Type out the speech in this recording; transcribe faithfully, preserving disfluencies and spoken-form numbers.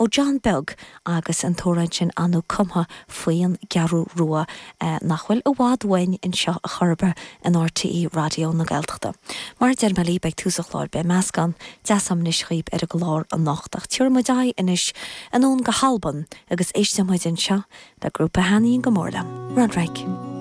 ó John Beag agus an t-amhrán sin anú cumtha faoin gCeathrú Rua eh, nach bhfuil i bhfad uainn anseo a chairde in R T É Raidió na Gaeltachta. Mar deir mé beidh tús an chláir beidh meascán deas agam anois daoibh ar an gclár anocht ach tabharfaidh muid aghaidh anois anonn go hAlbain agus éistfidh muid anseo le grúpa a thaitníonn go mór liom. Runrig.